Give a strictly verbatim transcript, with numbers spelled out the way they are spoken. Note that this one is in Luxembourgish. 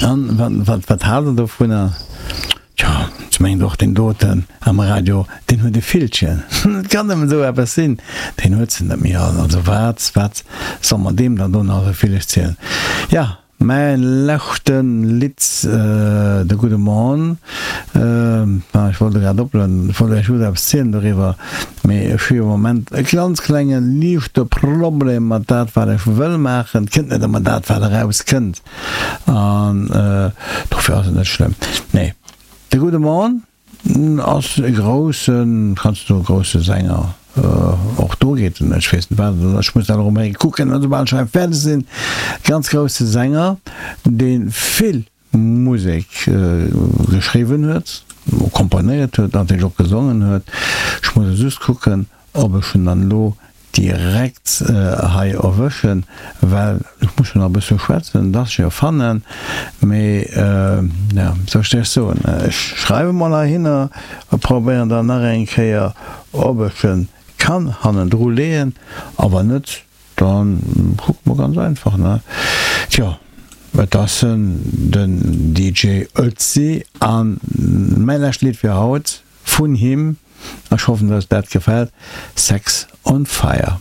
An wat, wat, wat haalt Der dovunner? Tjo, ech mengen och deen doten am Radio, deen huet e Villchen. Et kann nëmmen esou eppes sinn. Deen huet se net méi all. Also wat, wat soll mer deem dann do nach esou vill erzielen? Ja, mäin leschte Lidd, de gudde Morn. Ech wollt e grad oplueden, ech wollt Iech just eppes zielen doriwwer, mee ech hu jo am Moment e ganz klenge liichte Problem mat dat wat ech wëll maachen. Et kënnt net ëmmer dat wat erauskënnt. An dofir ass et net schlëmm. Nee, de gudde Morn ass e groussen, kanns du soen, grousse Sänger. Och do geet en, ech weess net wat, ech muss dat och emol kucken, esoubal ech hei fäerdeg sinn. Ganz grousse Sänger, dee vill Musek geschriwwen huet, komponéiert huet, natierlech och gesongen huet. Ech muss elo just kucken, ob ech en dann elo direkt hei erwëschen, well ech muss jo nach e bësse schwätzen, dass ech e fannen, mee jo, wéi soll ech dat soen, ech schreiwe mol heihinner a probéieren dann nach eng Kéier, ob ech e kann hannendru leeën, a wann net, da kucke mer ganz einfach, ne? Tjo, et ass en, den D J Ötzi, a mäi lescht Lidd fir haut vun him. Ech hoffen dass dat gefällt, Sex on Fire.